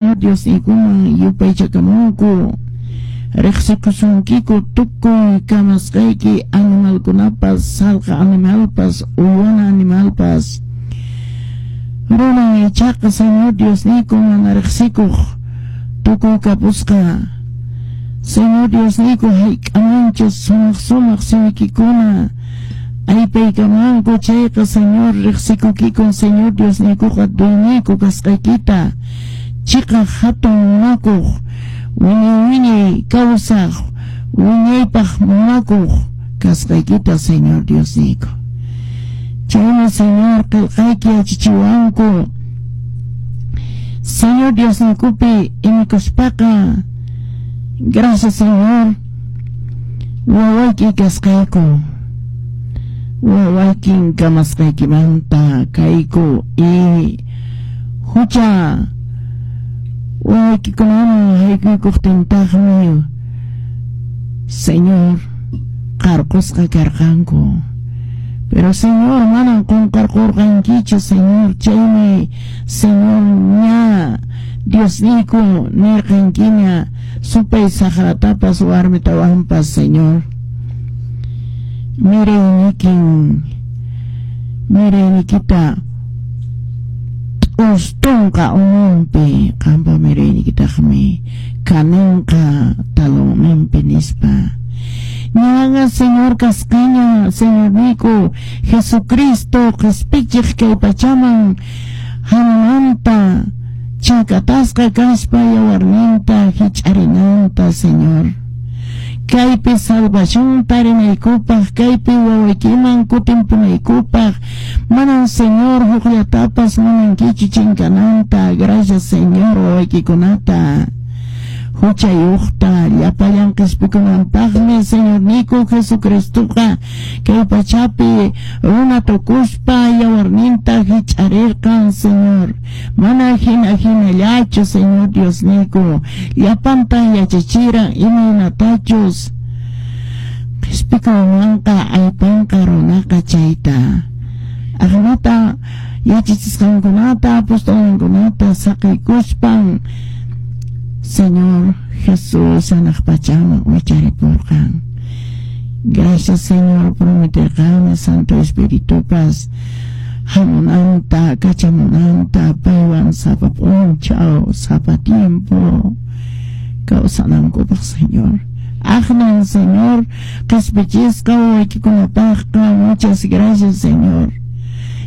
Diosniykuman yupaychakamunku. Riqsikusunkiku tukuy kamasqayki animalkunapas, salqa animalpas, uywana animalpas. Runan ichaqa Señor Diosniyku mana riqsikuq tukuy kapusqa. Señor Diosniyku hayk'amanchus sumaq sumaq simiykikuna aypaykamanku chayqa Señor riqsikukikun Señor Diosniykuqa dueñoyku kasqaykita chiqaq hatun munakuq wiñay wiñay kawsaq wiñaypaq munakuq kasqaykita Señor Diosniyku. Chaymi Señor qillqayki yachachiwanku Señor Diosniykupi imikuspaqa gracias Señor wawayki kasqayku wawaykin kamasqaykimanta kayku y hucha wawaykikunaman haykuykuqtintaqmi Señor qarqusqa karqanku. Pero Señor manan qunqarqurqankichu Señor chaymi Señor ña Diosniyku nirqankiña supay saqratapas warmitawanpas Señor miraynikin miraynikita t'ustunqa umanpi qampa miraynikitaqmi kaninqa talonninpi nispa. Ñaña Señor kasqaña Señorniyku Jesucristo qispichiq kay pachaman hamunanta chakatasqa kaspa yawarninta hich'arinanta Señor. Kaypi salvación tarinaykupaq, kaypi wawaykiman kutimpunaykupaq, manan Señor hukllatapas munankichu chinkananta. Gracias Señor wawaykikunata. Huchayuqta llapallan qispikunanpaqmi Señorniyku Jesucristoqa kay pachapi runa tukuspa yawarninta hich'arirqan Señor. Mana hina hinallachu Señor Diosniyku llapanta yachachiran imaynatachus qispikunanqa aypanqa runaqa chayta. Aqnata yachachisqankunata apostolninkunata saqiykuspan Señor Jesús hanaq pachaman wicharipurqan. Gracias Señor prometerqanmi Santo Espiritupas hamunanta kachamunanta paywan sapa p'unchaw sapa tiempo kawsanankupaq Señor. Aqnan Señor qispichisqa wawaykikunapaqqa muchas gracias Señor.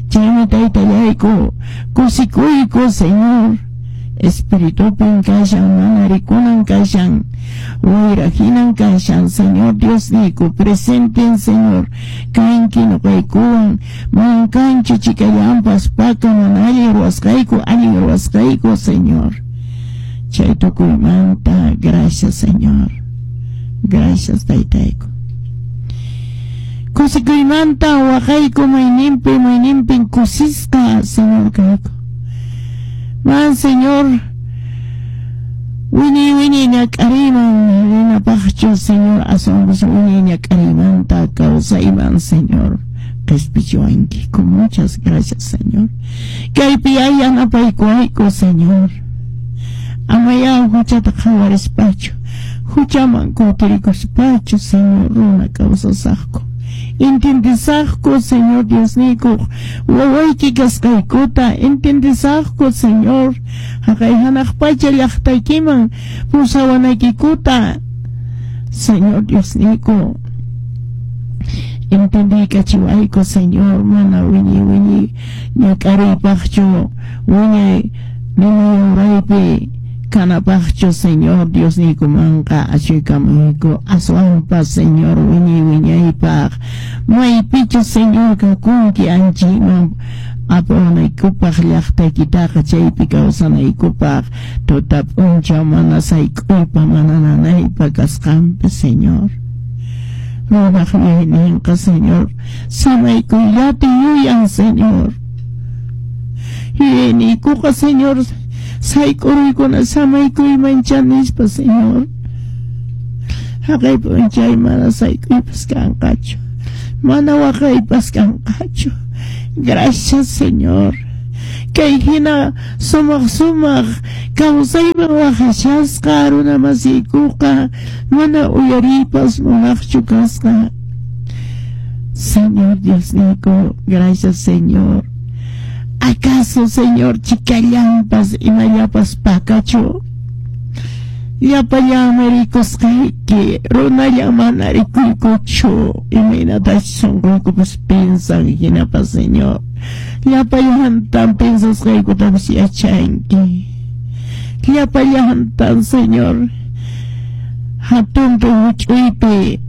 Chaymi taytallayku kusikuyku Señor. Espiritupin kashan mana rikunan kashan wayra hinan kashan Señor Diosniyku presenten Señor kanki nuqaykuwan manan kanchu chikallanpas paka mana allin ruwasqayku allin ruwasqayku Señor. Chay tukuymanta gracias Señor. Gracias taytayku. Kusikuymanta waqayku mayninpi mayninpin kusisqa Señor kayku. Man Señor wiñay wiñay ñak'ariyman rinapaqchu Señor aswanpas wiñay ñak'ariymanta kawsayman Señor qispichiwankiku. Muchas gracias Señor. Kaypi yanapaykuwayku Señor. Amayá huchata qhawarispachu huchaman kutirikuspachu Señor runa kawsasaqku. Entiendesaqku Señor Diosniyku wawayki kasqaykuta entiendesaqku Señor haqay hanaq pacha llaqtaykiman pusawanaykikuta Señor Diosniyku entendiykachiwayku Señor mana wiñay wiñay ñak'ariypaqchu wiñay ninayuraypi kanapaqchu Señor Diosniykumanqa achuykamuyku aswanpas Señor wiñay wiñaypaq maypichu Señor kakunki anchayman apawanaykupaq llaqtaykitaqa chaypi kawsanaykupaq tuta p'unchaw mana sayk'uypa mana nanaypa kasqanpi Señor. Runaq yuyayninqa Señor samaykuyllata yuyan Señor. Yuyayniykuqa Señor sayk'uruykuna samaykuymancha nispa Señor. Haqay p'unchay mana sayk'uypas kanqachu mana waqaypas kanqachu. Gracias Señor. Kay hina sumaq sumaq kawsayman waqashasqa runa masiykuqa mana uyariypas munaqchu kasqa. Señor Diosniyku, gracias Señor. ¿Acaso, Señor, chikallampas imallapas pakachu? Llapallanmi rikusqayki, runalla mana rikuykuchu, imaynatachus sunquykupas piensan hinapas, Señor. Llapallantan pensasqaykutapas yachanki. Llapallantan, Señor, hatunpi huch'uypi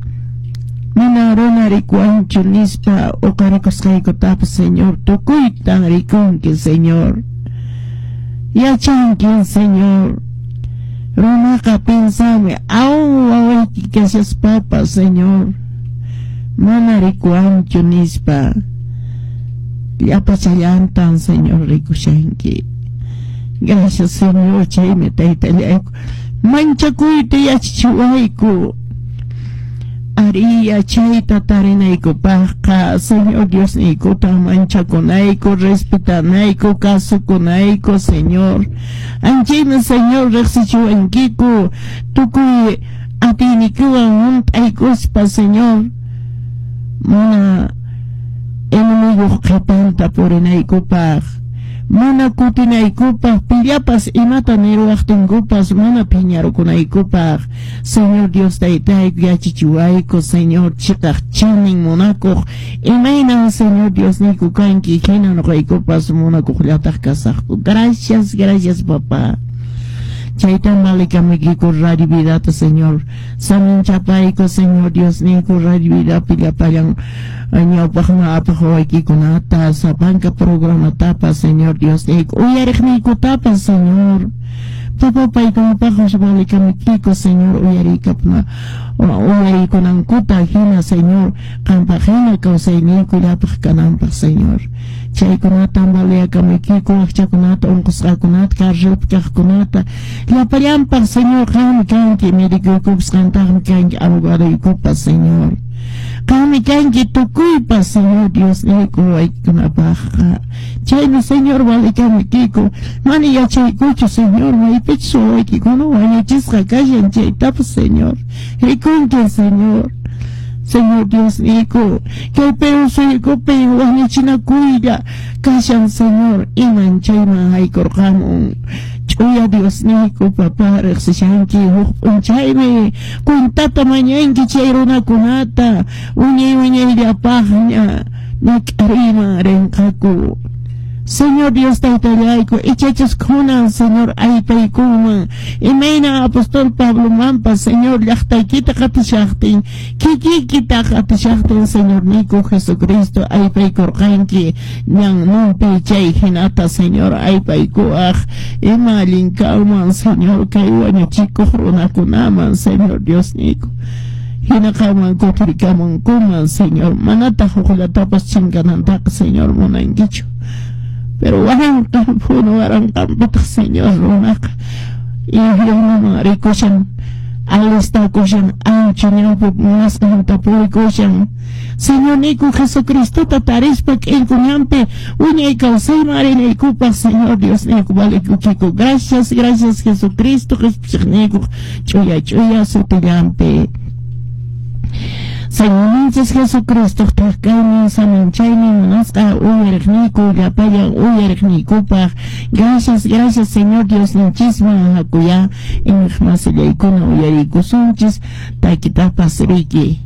mana runa rikuwanchu nispa uqarikusqaykutapas, Señor, tukuytan rikunki, Señor. Yachankin, Señor. Runaqa piensanmi, aún wawayki kashaspapas, Señor, mana rikuwanchu nispa. Llapachallantan, Señor, rikushanki. Gracias, Señor, chaymi taytallayku. Manchakuyta yachachiwayku. Ari yachayta tarinaykupaqqa, Señor Diosniykuta manchakunayku, respetanayku, kasukunayku, Señor. Anchaymi, Señor, riqsichiwankiku tukuy atiyniykiwan hunt'aykuspa, Señor. Mana enemiguq qhipanta purinaykupaq, mana kutinaykupaq, pillapas imata niruwaqtinkupas mana phiñarukunaykupaq. Señor Dios taytayku yachachiwayku, Señor, chiqaq chanin munakuq, imaynan Señor Diosniyku kanki, hina nuqaykupas munakuqllataq kasaqku. Gracias, gracias, papá. Chaytan valikamuykiku Radio Vidata, Señor. Saminchapayku, Señor Diosniyku, Radio Vidapi llapallan ñawpaqman apaq wawaykikunata, sapanka programatapas, Señor Diosniyku, uyariqniykutapas, Señor. Papá, paykunapaqpas valikamuykiku, Señor, uyariykapuna uyariykunankuta hina, Señor, qampaq hina kawsayniyku llapaq kananpaq, Señor. Chaykunatan valiyakamuykiku, wakchakunata, unqusqakunata, carcelpi kaqkunata, llapallanpaq, Señor, qammi kanki, médicoykupas qamtaqmi kanki, abogadoykupas, Señor. Qammi kanki tukuypas, Señor Diosniyku, wawaykikunapaqqa. Chaymi, Señor, valikamuykiku, mana yachaykuchu, Señor, maypichus wawaykikuna wañuchisqa kashan chaytapas, Señor. Rikunki, Señor. Señor Diosniyku, kay Perú suyukupi wañuchinakuylla kashan, Señor, iman chayman haykurqamun. Ch'uya Diosniyku, papá, riqsishanki huk p'unchaymi cuentata mañanki chay runakunata wiñay wiñayllapaqña ñak'ariyman rinqaku. Señor Dios taytallayku, ichachus kunan, Señor, aypaykunman, imayna apóstol Pablomanpas, Señor, llaqtaykita qatishaqtin, kikikita qatishaqtin, Señorniyku Jesucristo, aypaykurqanki ñannunpi chay hinata, Señor, aypaykuwaq ima allin kanman, Señor, kay wañuchikuq runakunaman, Señor Diosniyku. Hina qamman kutirikamunkuman, Señor, manataq hukllatapas chinkanantaqa, Señor, munankichu. Pero waranqan punu waranqanpitaq, Señor, runaqa infiernoman rikushan, alistakushan, ancho ñawpi munasqanta purikushan. Señorniyku Jesucristota tarispa k'inku ñanpi wiñay kawsayman rinaykupaq, Señor Diosniyku, valikukiku. Gracias, gracias, Jesucristo, qhispichiqniyku ch'uya ch'uya sutillanpi. Señorninchis Jesucristoq thak-kaynin saminchaynin munasqa uyariqniyku llapallan uyariqniykupaq. Gracias, gracias, Señor Diosninchisman hakuyá iñiqmasillaykuna uyariykusunchis takitapas riki.